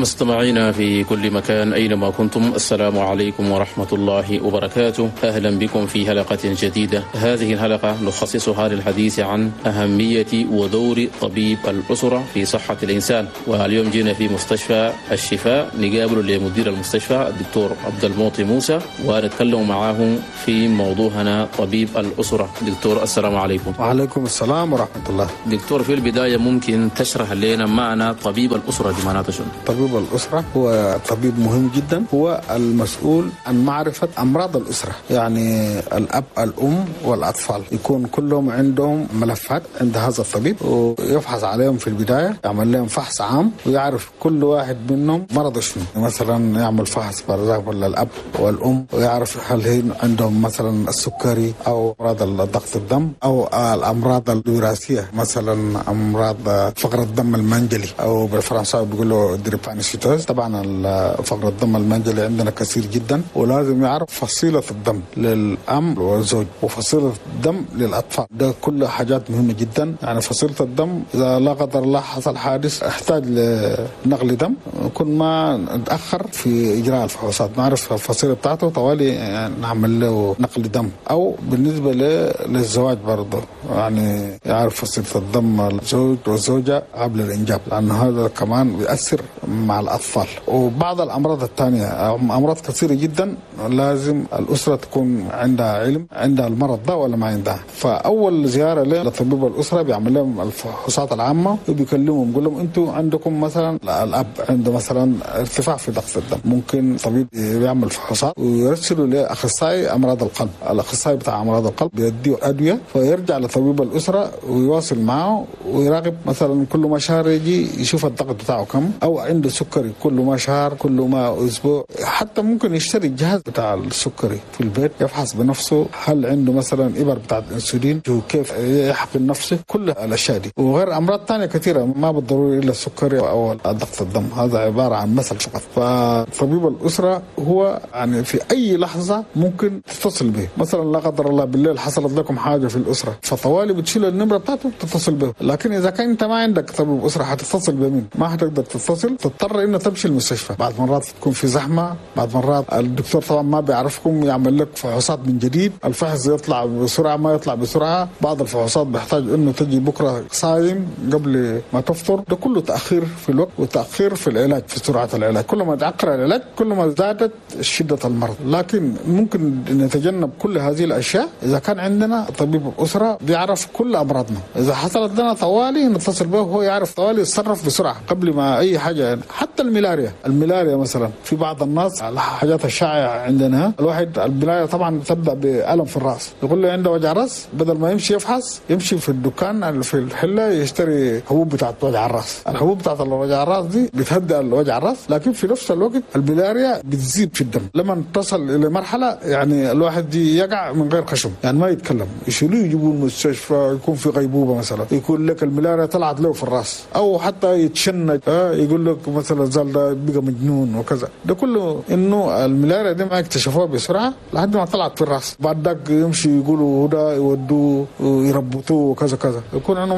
مستمعينا في كل مكان أينما كنتم، السلام عليكم ورحمة الله وبركاته. أهلا بكم في حلقة جديدة. هذه الحلقة نخصصها للحديث عن أهمية ودور طبيب الأسرة في صحة الإنسان. واليوم جينا في مستشفى الشفاء نقابل لمدير المستشفى الدكتور عبد المعطي موسى ونتكلم معاه في موضوعنا طبيب الأسرة. دكتور، السلام عليكم. وعليكم السلام ورحمة الله. دكتور، في البداية ممكن تشرح لنا معنى طبيب الأسرة بمعنى شنو؟ طبيب الأسرة هو طبيب مهم جدا، هو المسؤول عن معرفة أمراض الأسرة، يعني الأب الأم والأطفال يكون كلهم عندهم ملفات عند هذا الطبيب، ويفحص عليهم في البداية، يعمل لهم فحص عام ويعرف كل واحد منهم مرض شنو. مثلا يعمل فحص ولا الأب والأم، ويعرف هل هي عندهم مثلا السكري أو أمراض ضغط الدم أو الأمراض الوراثية، مثلا أمراض فقر الدم المنجلي أو بالفرنساوي بيقولوا drépanocytose. طبعا فقر الدم المنجلي عندنا كثير جدا، ولازم يعرف فصيلة الدم للأم والزوج وفصيلة الدم للأطفال. ده كل حاجات مهمة جدا. يعني فصيلة الدم إذا لا قدر الله حصل حادث احتاج لنقل دم، كل ما نتأخر في إجراء الفحوصات نعرف الفصيلة بتاعته طوالي نعمل له نقل دم. أو بالنسبة للزواج برضه، يعني يعرف فصيلة الدم الزوج والزوجة قبل الإنجاب، لأن هذا كمان بيأثر مع الأطفال. وبعض الأمراض الثانية، أمراض كثيرة جدا لازم الأسرة تكون عندها علم عندها المرض ده ولا ما عندها. فأول زيارة لطبيب الأسرة بيعمل لهم الفحوصات العامة وبيكلمهم، بيقول لهم أنتوا عندكم مثلا الأب عنده مثلا ارتفاع في ضغط الدم، ممكن طبيب يعمل فحوصات ويرسله لأخصائي أمراض القلب. الأخصائي بتاع أمراض القلب بيديه أدوية، فيرجع لطبيب الأسرة ويواصل معه ويراقب، مثلا كل ما شهر يجي يشوف الضغط بتاعه كم، أو عنده سكري كل ما شهر كل ما أسبوع. حتى ممكن يشتري الجهاز بتاع السكري في البيت يفحص بنفسه هل عنده مثلا إبر بتاعت الأنسولين وكيف يحقن نفسه، كل الأشياء دي وغير أمراض ثانية كثيرة ما بالضروري إلا السكري أو ضغط الدم، هذا عبارة عن مثل فقط. فطبيب الأسرة هو يعني في أي لحظة ممكن تتصل به، مثلا لا قدر الله بالليل حصلت لكم حاجة في الأسرة، فطوالي بتشيل النمرة بتاعته تتصل به. لكن إذا كان أنت ما عندك طبيب أسرة حتتصل بمين؟ ما حتقدر تتصل، تضطر إنه تمشي المستشفى. بعد مرات تكون في زحمة، بعد مرات الدكتور طبعا ما بيعرفكم، يعمل لك فحوصات من جديد، الفحص يطلع بسرعة ما يطلع بسرعة، بعض الفحوصات بيحتاج إنه تجي بكرة صايم قبل ما تفطر. ده كله تأخير في الوقت وتأخير في العلاج، في سرعة العلاج. كل ما تأخر العلاج كل ما زادت شدة المرض. لكن ممكن نتجنب كل هذه الأشياء إذا كان عندنا طبيب الأسرة بيعرف كل أمراضنا. إذا حصلت لنا طوالي نتصل به وهو يعرف طوالي يتصرف بسرعة قبل ما أي حاجة. يعني حتى الملاريا مثلا في بعض الناس الحاجات الشائعة عندنا، الواحد الملاريا طبعا تبدأ بألم في الرأس، يقول له عنده وجع رأس، بدل ما يمشي يفحص يمشي في الدكان في الحلة يشتري حبوب بتاعت وجع الرأس. الحبوب بتاعت وجع الرأس دي بتهدئ الوجع الرأس، لكن في نفس الوقت الملاريا بتزيد في الدم لما تصل إلى مرحلة يعني الواحد يقع من غير خشم، يعني ما يتكلم، يشيلوه يجيبوه المستشفى، يكون في غيبوبة مثلا، يكون لك الملاريا طلعت له في الرأس، أو حتى يتشنج، يقول لك مثلا زال ده بقى مجنون وكذا. ده كله إنه الملاريا دي ما اكتشفوها بسرعة لحد ما طلعت في الرأس. بعد ذاك يمشي يقولوا ده يودوه يربطوه وكذا كذا، يكون عنده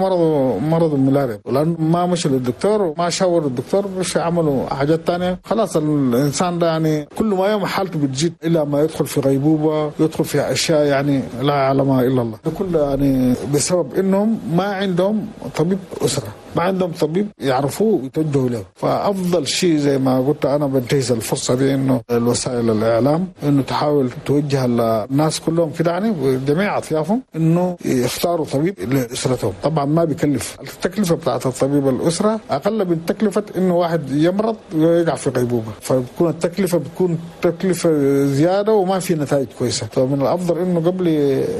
مرض الملاريا، لأنه ما مشي للدكتور وما شاور الدكتور، مش عملوا حاجات تانية. خلاص الإنسان ده يعني كل ما يوم حالته بتزيد إلى ما يدخل في غيبوبة، يدخل في أشياء يعني لا يعلمها إلا الله. ده كله يعني بسبب إنهم ما عندهم طبيب أسرة، ما عندهم طبيب يعرفوه ويتوجهوا له. فأفضل شيء زي ما قلت أنا بنتهز الفرصة دي إنه الوسائل الإعلام إنه تحاول توجه الناس كلهم كده يعني بجميع أطيافهم إنه يختاروا طبيب لأسرتهم. طبعا ما بيكلف، التكلفة بتاعت الطبيب الأسرة أقل من تكلفة إنه واحد يمرض ويقع في غيبوبة، فبتكون التكلفة بتكون تكلفة زيادة وما في نتائج كويسة. فمن الأفضل إنه قبل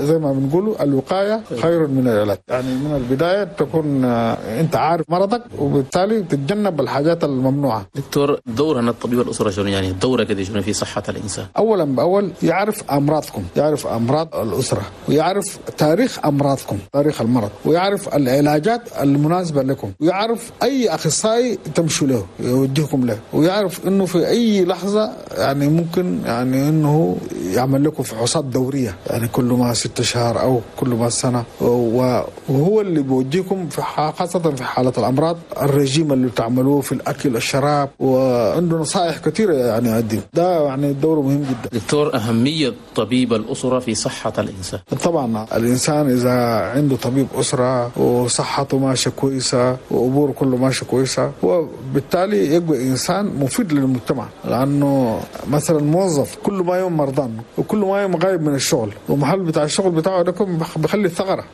زي ما بنقوله الوقاية خير من العلاج، يعني من البداية تكون أنت عارف مرضك وبالتالي تتجنب الحاجات الممنوعة. دكتور، دورنا الطبيب الأسرة شنو يعني دورة كده شنو في صحة الإنسان؟ أولا بأول يعرف أمراضكم، يعرف أمراض الأسرة، ويعرف تاريخ أمراضكم، تاريخ المرض، ويعرف العلاجات المناسبة لكم، ويعرف أي أخصائي تمشوا له يوجهكم له، ويعرف إنه في أي لحظة يعني ممكن يعني إنه يعمل لكم فحوصات دورية، يعني كل ما 6 شهور أو كل ما سنة، وهو اللي بيوجهكم في خاصة في حالة الأمراض، الرجيم اللي تعملوه في الأكل الشراب، وعنده نصائح كثيرة يعني يقدم. ده يعني دوره مهم جدا. دكتور، أهمية طبيب الأسرة في صحة الإنسان. طبعا الإنسان إذا عنده طبيب أسرة وصحته ماشية كويسة وأموره كله ماشية كويسة، وبالتالي يبقى إنسان مفيد للمجتمع. لأنه مثلا موظف كل ما يوم مرضان وكل ما يوم غايب من الشغل، ومحل بتاع الشغل بتاعه ده بخلي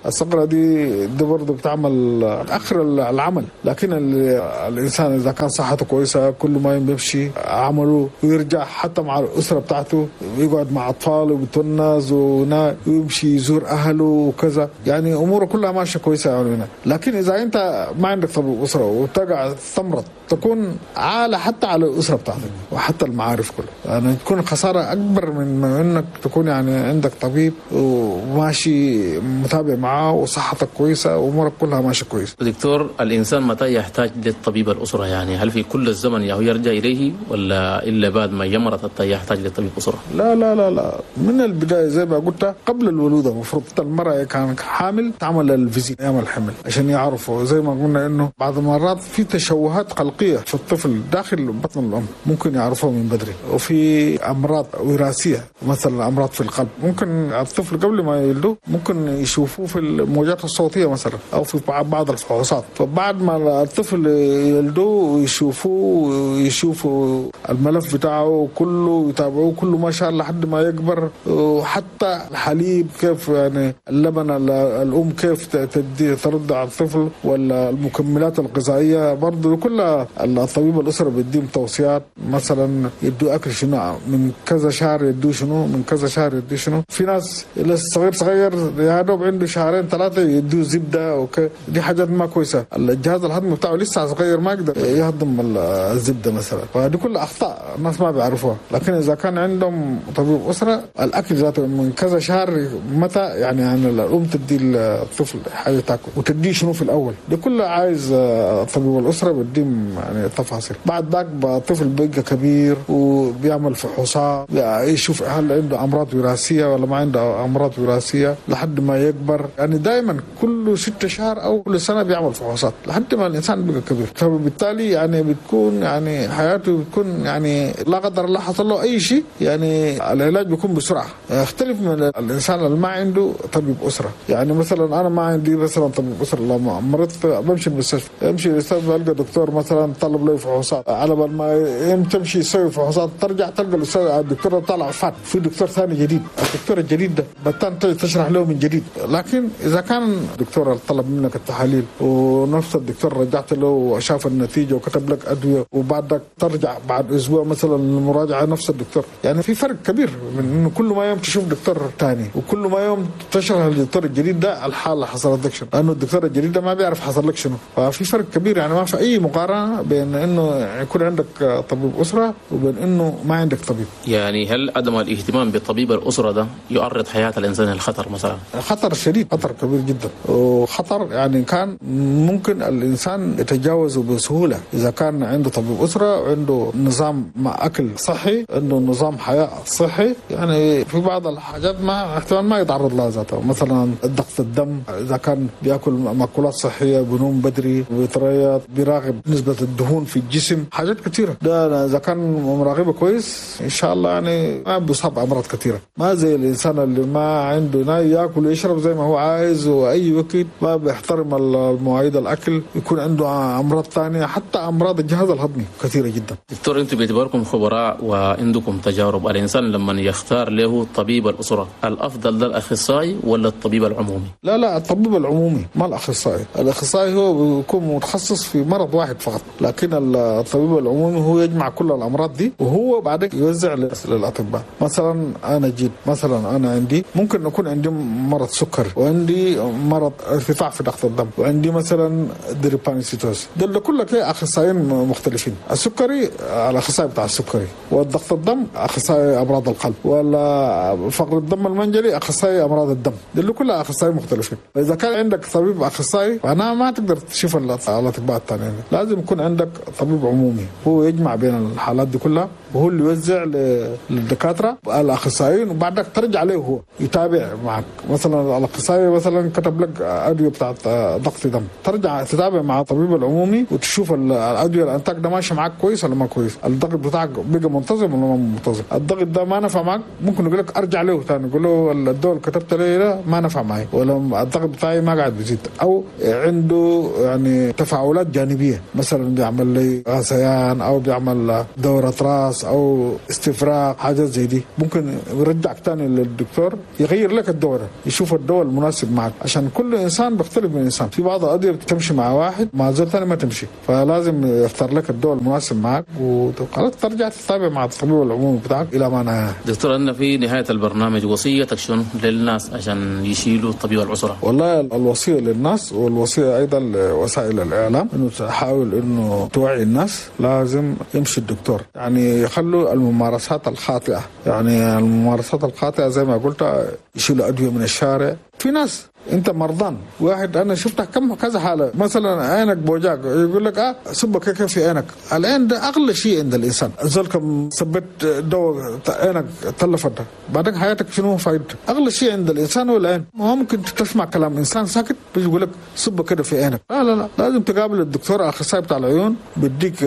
الثغرة دي برضه بتعمل آخر العمل. لكن الإنسان إذا كان صحته كويسة كل ما يوم بيمشي عمله ويرجع حتى مع الأسرة بتاعته، ويقعد مع أطفاله وبيتونس ويمشي يزور أهله وكذا، يعني أموره كلها ماشية كويسة يعني. لكن إذا أنت ما عندك طبيب أسرة وتقع تمرض، تكون عالة حتى على الأسرة بتاعتك وحتى المعارف كلها، يعني تكون خسارة أكبر من أنك تكون يعني عندك طبيب وماشي متابع معاه وصحتك كويسة وأمورك كلها ماشية كويسة. دكتور، الإنسان متى يحتاج للطبيب الأسرة؟ يعني هل في كل الزمن يرجع إليه ولا إلا بعد ما يمرض حتى يحتاج للطبيب الأسرة؟ لا لا لا لا، من البداية زي ما قلت قبل الولادة المفروض المرأة كانت حامل تعمل الفيزيت أيام الحمل عشان يعرفوا، زي ما قلنا إنه بعض المرات في تشوهات خلقية في الطفل داخل بطن الأم ممكن يعرفوها من بدري، وفي أمراض وراثية مثلا أمراض في القلب ممكن الطفل قبل ما يولده ممكن يشوفوه في الموجات الصوتية مثلا أو في بعض الفحوصات. فبعد ما الطفل يولدوه ويشوفوه ويشوفوا الملف بتاعه كله يتابعوه كله ما شاء الله لحد ما يكبر، وحتى الحليب كيف يعني اللبن الأم كيف تدي ترضع الطفل، ولا المكملات الغذائية برضو كلها الطبيب الأسرة بيديهم توصيات، مثلا يدوا أكل شنو من كذا شهر، يدوا شنو من كذا شهر، يدوا شنو. في ناس لسه صغير يا دوب عنده 2 3 شهور يدوا زبدة دي حاجات ما كويسة. الجهاز الهضمي بتاعه لسه صغير ما يقدر يهضم الزبدة مثلا، فدي كل أخطاء الناس ما بيعرفوها. لكن إذا كان عندهم طبيب أسرة الأكل ذاته من كذا شهر متى يعني الأم تدي الطفل حاجة تاكل وتديه شنو في الأول، دي كلها عايز طبيب الأسرة بيديهم يعني تفاصيل. بعد ذاك الطفل بيبقى كبير وبيعمل فحوصات يشوف هل عنده أمراض وراثية ولا ما عنده أمراض وراثية لحد ما يكبر. يعني دائما كل 6 شهور أو كل سنة بيعمل فحوصات لحد ما الإنسان بيبقى كبير. فبالتالي يعني بتكون يعني حياته بتكون يعني لا قدر الله حصل له أي شيء يعني العلاج بيكون بسرعة. يختلف من الإنسان اللي ما عنده طبيب أسرة. يعني مثلا أنا ما عندي مثلا طبيب أسرة، لما مرضت بمشي المستشفى، امشي المستشفى ألقى دكتور مثلا طلب لي فحوصات، على بال ما تمشي يسوي فحوصات ترجع تلقى الأستاذ الدكتور طلع فات، في دكتور ثاني جديد، الدكتور الجديد ده بتان تشرح له من جديد. لكن إذا كان الدكتور طلب منك التحاليل ونفس الدكتور رجعت له وشاف النتيجة وكتب لك أدوية، وبعدك ترجع بعد أسبوع مثلا للمراجعة نفس الدكتور، يعني في فرق كبير من إنه كل ما يوم تشوف دكتور ثاني وكل ما يوم تشرح للدكتور الجديد ده الحالة حصلت لك شنو، لأنه الدكتور الجديد ده ما بيعرف حصل لك شنو. ففي فرق كبير، يعني ما في أي مقارنة بين إنه يكون عندك طبيب أسرة وبين إنه ما عندك طبيب. يعني هل عدم الاهتمام بطبيب الأسرة ده يعرض حياة الإنسان للخطر مثلا؟ خطر شديد، خطر كبير جدا، وخطر يعني كان ممكن الإنسان يتجاوزه بسهولة إذا كان عنده طبيب أسرة وعنده نظام مع أكل صحي، عنده نظام حياة صحي. يعني في بعض الحاجات ما احتمال ما يتعرض لها ذاته، مثلا ضغط الدم إذا كان بيأكل مأكولات صحية، بنوم بدري، بيتريض، بيراقب نسبة الدهون في الجسم، حاجات كثيرة. ده إذا كان مراقبه كويس إن شاء الله يعني ما بيصاب أمراض كثيرة. ما زي الإنسان اللي ما عنده ياكل ويشرب زي ما هو عايز وأي وقت، ما بيحترم المواعيد الأكل، يكون عنده أمراض ثانية، حتى أمراض الجهاز الهضمي كثيرة جدا. دكتور، أنتم باعتباركم خبراء وعندكم تجارب، الإنسان لما يختار له طبيب الأسرة الأفضل ده الأخصائي ولا الطبيب العمومي؟ لا لا، الطبيب العمومي ما الأخصائي. الأخصائي هو بيكون متخصص في مرض واحد فقط، لكن الطبيب العمومي هو يجمع كل الأمراض دي وهو بعدين يوزع للأطباء. مثلا أنا جيت مثلا أنا عندي ممكن يكون عندي مرض سكر، وعندي مرض ارتفاع في ضغط الدم، وعندي مثلا drépanocytose، دول كلها أخصائيين مختلفين. السكري الأخصائي بتاع السكري، والضغط الدم أخصائي أمراض القلب، ولا فقر الدم المنجلي أخصائي أمراض الدم، دول كلها أخصائيين مختلفين. فإذا كان عندك طبيب أخصائي فأنا ما تقدر تشوف الأطباء الثانيين، لازم يكون عندك طبيب عمومي هو يجمع بين الحالات دي كلها، وهو اللي يوزع للدكاترة الاخصائيين وبعدك ترجع له هو يتابع معك. مثلا الاخصائي مثلا كتب لك ادوية بتاعت ضغط دم، ترجع تتابع مع الطبيب العمومي وتشوف الادوية الانتاج ده ماشي معك كويس ولا ما كويس، الضغط بتاعك بقى منتظم ولا ما منتظم، الضغط ده ما نفع معك ممكن يقول لك ارجع له ثاني، يقول له الدواء اللي كتبت لي ده ما نفع معي، ولا الضغط بتاعي ما قاعد بيزيد، او عنده يعني تفاعلات جانبيه، مثلا بيعمل لي غثيان او بيعمل دوره راس او استفراغ، حاجات زي دي، ممكن يرجعك ثاني للدكتور يغير لك الدواء، يشوف الدواء المناسب معك، عشان كل انسان بيختلف من انسان، في بعض الادوية بتمشي مع واحد مع زول ثاني ما تمشي، فلازم يختار لك الدواء المناسب معك وخلاص ترجع تتابع مع الطبيب العمومي بتاعك الى ما نهاية. دكتور، أن في نهاية البرنامج وصيتك شنو للناس عشان يشيلوا طبيب العسرة؟ والله الوصية للناس والوصيه ايضا لوسائل الاعلام انه تحاول انه توعي الناس، لازم يمشي الدكتور، يعني يخلوا الممارسات الخاطئة، يعني الممارسات الخاطئة زي ما قلت يشيلوا ادوية من الشارع. في ناس انت مرضان، واحد انا شفتها كم كذا حاله، مثلا عينك بوجاك يقول لك سبك كيف في عينك، العين ده اغلى شيء عند الانسان، زول كم سبت دواء عينك تلفت، بعدين حياتك شنو فايدته؟ اغلى شيء عند الانسان هو العين. ما ممكن تسمع كلام انسان ساكت بيجي يقول لك سبك كده في عينك، لا لا لا، لازم تقابل الدكتور الاخصائي بتاع العيون، بيديك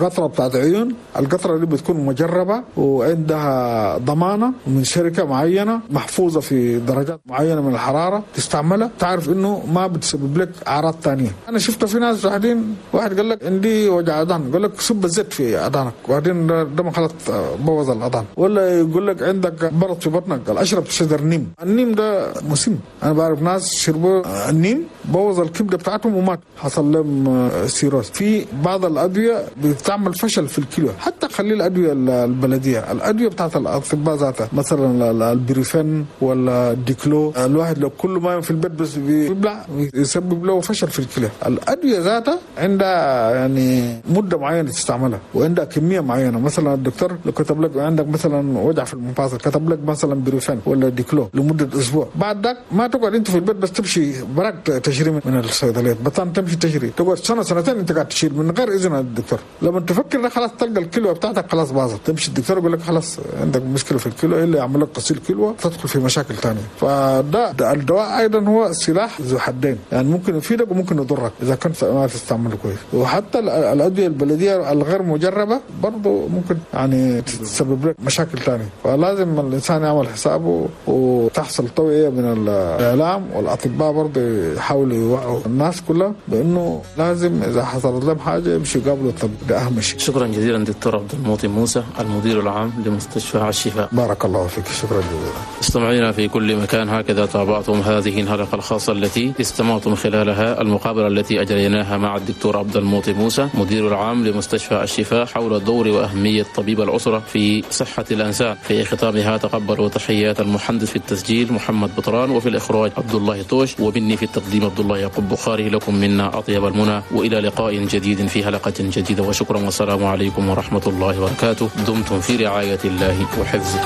قطرة بتاعت عيون، القطرة دي بتكون مجربه وعندها ضمانه من شركة معينة، محفوظة في درجات معينة من الحرارة، تستعملها تعرف انه ما بتسبب لك اعراض ثانية. انا شفت في ناس واحدين، واحد قال لك عندي وجع اذان، قال لك صب الزيت في اذانك، وبعدين ده خلاص بوظ الاذان. ولا يقول لك عندك برد في بطنك، قال اشرب شجر نيم، النيم ده مسم، انا بعرف ناس شربوا النيم بوظ الكبده بتاعتهم ومات، حصل لهم cirrhose. في بعض الادوية بتعمل فشل في الكلى، حتى خلي الادوية البلدية، الادوية بتاعت الاطباء ذاتها، مثلا البريفن ولا الديكلو، الواحد لو كل ما في البيت بس بيبلع يسبب له فشل في الكلى. الادوية ذاتها عندها يعني مده معينة تستعملها وعندها كمية معينة، مثلا الدكتور لو كتب لك عندك مثلا وجع في المفاصل، كتب لك مثلا بروفين ولا ديكلو لمدة اسبوع، بعد ذاك ما تقعد انت في البيت بس تمشي براك تشتري من الصيدليات، بطن تمشي تشتري، تقعد سنة سنتين انت قاعد تشيل من غير اذن الدكتور. لما تفكر خلاص تلقى الكلوه بتاعتك خلاص باظت، تمشي الدكتور يقول لك خلاص عندك مشكلة في الكلوه، الا يعمل لك غسيل كلوه، تدخل في مشاكل ثانية. فده الدواء ايضا هو سلاح ذو حدين، يعني ممكن يفيدك وممكن يضرك اذا كنت ما تستعمله كويس. وحتى الادوية البلدية الغير مجربه برضه ممكن يعني تسبب لك مشاكل ثانية، فلازم الانسان يعمل حسابه وتحصل توعيه من الاعلام والاطباء برضه يحاولوا يوعوا الناس كلها بانه لازم اذا حصلت لهم حاجة يمشوا يقابلوا الطبيب، ده اهم شيء. شكرا جزيلا دكتور عبد المعطي موسى المدير العام لمستشفى الشفاء. بارك الله فيك، شكرا جزيلا. مستمعينا في كل مكان، هكذا تابعتم هذه الحلقة الخاصة التي استمعتم خلالها المقابلة التي أجريناها مع الدكتور عبد المعطي موسى مدير العام لمستشفى الشفاء حول دور وأهمية طبيب الأسرة في صحة الإنسان. في ختامها تقبلوا تحيات المهندس في التسجيل محمد بطران، وفي الإخراج عبد الله طوش، ومني في التقديم عبد الله يعقوب بخاري. لكم منا أطيب المنى، وإلى لقاء جديد في حلقة جديدة، وشكرا والسلام عليكم ورحمة الله وبركاته. دمتم في رعاية الله وحفظه.